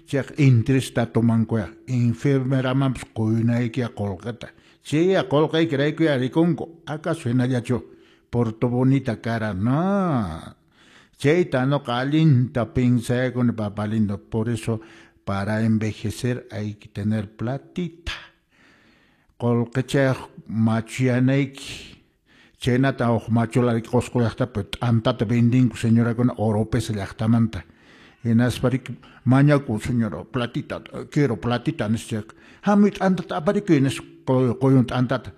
Chayqa interesta tomankuya enfermeramanpas quynaykiyá qullqita. Chayya qullqaykiraykuya rikunku. ¿Acaso hinallachu por tu bonita cara? No. Chayta nuqa allinta pensayakuni, papá lindo. Por eso para envejecer hay que tener platita. Qullqichayuq machuyanayki. Chaynata huk machula Qusqu llaqtapi t'antata vendinku señorakuna Oropesa llaqtamanta. Hinaspa riki mañakun señora platita, quiero platita nispa chayqa hamuy t'antata aparikuy nispa quyun t'antata.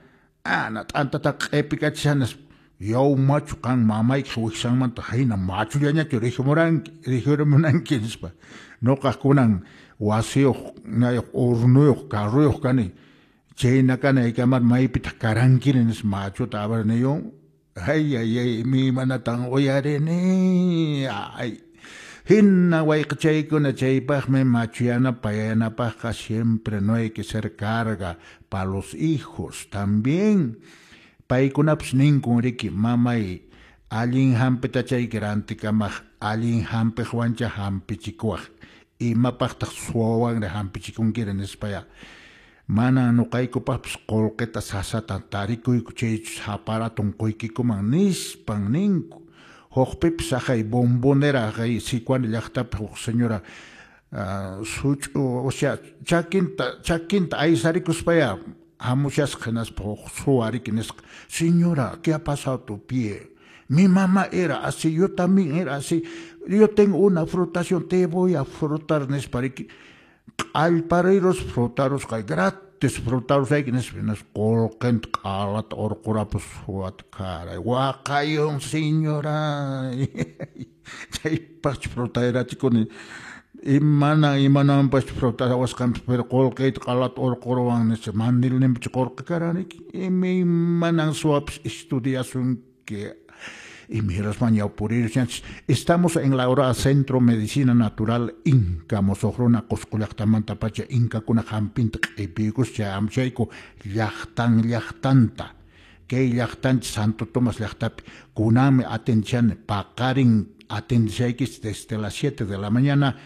Ana t'antata q'ipikachishan nispa. Yaw machu qan mamaykiq wiksanmanta hina machullañachu rikhumuranki rikhurimunanki nispa. Nuqaq kunan wasiyuq ñayuq hornuyuq carruyuq kani. Chayna kanaykamar maypitaq karankiri nispa machuta abarniyun. Ay ay ay imaymanatan uyarini. Ay. Hina wayqichaykuna chaypaqmi machuyanapaq payanapaqqa siempre no hay que ser carga pa los hijos también. Paykunapas ninkun riki mamay allin hampitachayki rantikamaq allin hampiqwancha hampichikuwaq imapaqtaq suwawanri hampichikunkiri nispaya. Mana nuqaykupaqpas qullqita sasata tarikuyku chaychus aparatun quykikuman nispan ninku. Hukpipas haqay bombonera haqay Sicuani llaqtapi huk señora such'u o sea chakinta chakinta aysarikuspaya hamushasqa hinaspa huk suwa riki nisqa señora, ¿qué ha pasado tu pie? Mi mamá era así, yo también era así. Yo tengo una frotación, te voy a frotar nispa riki. Q'allparirus frotarusqa gratis frotarusayki nispa hinaspa qullqinta q'alata urqurapus suwata caray waqayun señora. Chaypaqchu frotayarachikuni imana imananpaschu frotawasqanpas pero qullqiyta q'alata urquruwan nispa mandilninpichu qullqi karan riki imaymanan suwapas estudiasunki. Imirasman ñawpurirushanchis. Estamos en la hora Centro Medicina Natural Inca musuq runa Qusqu llaqtamantapacha inkakuna hampinta q'ipiykus chay amchayku llaqtan llaqtanta. Kay llaqtanchis Santo Tomás llaqtapi kunanmi atendishani paqarin atendishaykichis desde las 7 de la mañana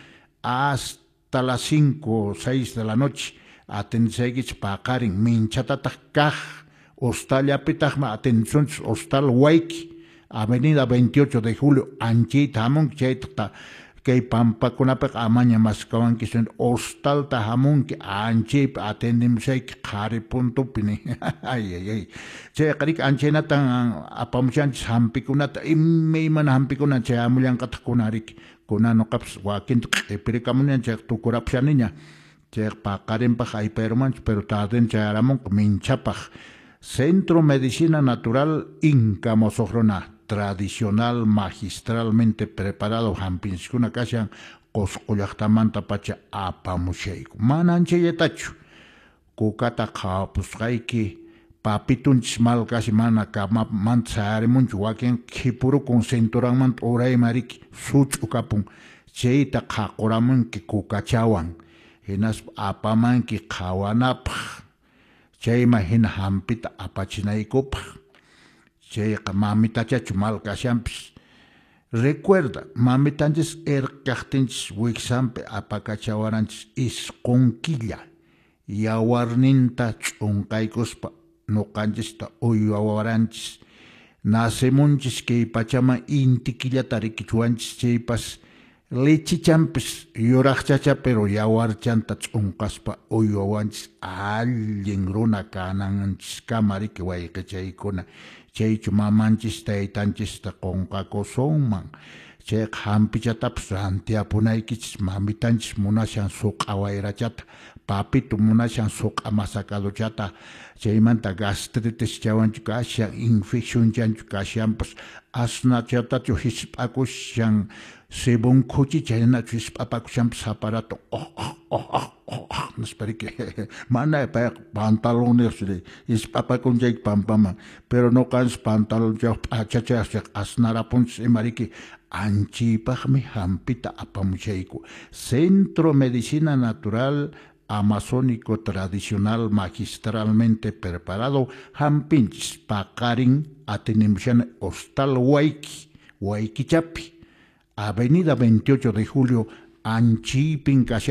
hasta las 5 o 6 de la noche atendishaykichis paqarin minchatataq kaq hostallapitaqmi atendisunchis hostal Wayki Avenida 28 de Julio anchayta hamunki chayta kay pampakunapiqa amaña maskawanki hostalta hamunki anchaypi atendimushayki qhari puntupi ni ay ay ay chayqa riki anchaynatan apamushanchis hampikunata imaymana hampikuna chay hamullanqataq kunan riki kunan nuqapas wakinta q'ipirikamuniña chayqa tukurapushaniña chayqa paqarinpaq aypayrumanchu pero tarden chayaramunqa minchapaq. Centro Medicina Natural Inca musuq runa tradicional magistralmente preparado hampinchiskuna kashan Qusqu llaqtamantapacha apamushayku. Mana anchallatachu kukata qhawapusqayki papitunchis mal kashi mana kamamanta sayarimunchu wakin khipurukun cinturanmanta urayman riki such'u kapun chayta qhaquramunki kukachawan hinaspa apamanki qhawanapaq chayman hina hampita apachinaykupaq. Chayqa mamitachachu mal kashanpis. Recuerda, mamitanchis erqaqtinchis wiksanpi apakachawaranchis isqun killa yawarninta ch'unqaykuspa nuqanchista uywawaranchis. Nacemunchis kay pachaman inti killata rikichuwanchis chaypas lechichanpis yuraqchacha pero yawarchanta ch'unqaspa uywawanchis allin runa kananchiskama riki wayqichaykuna. Chaychu mamanchis taytanchista qunqakusunman. Chayqa hampichatapas rantiapunaykichis mamitanchis munashan suq'a wayrachata papito munashan suq'a masacadochata chaymanta gastritis chawanchu kashan infeccionchanchu kashanpas asnachatachu hisp'akushan sebon khuchi chaynachu hisp'apakushanpas aparato oh oh oh oh oh oh nispa riki mana payqa pantalonniyuq hisp'apakun chayki pampaman pero nuqanchis pantalonchayuq p'achachayuq asnarapunchis ima riki anchaypaqmi hampita apamushayku. Centro Medicina Natural Amazónico Tradicional magistralmente preparado hampinchis paqarin atenimushani Hostal Wayki Waykichapi Avenida 28 de Julio anchaypin kashan.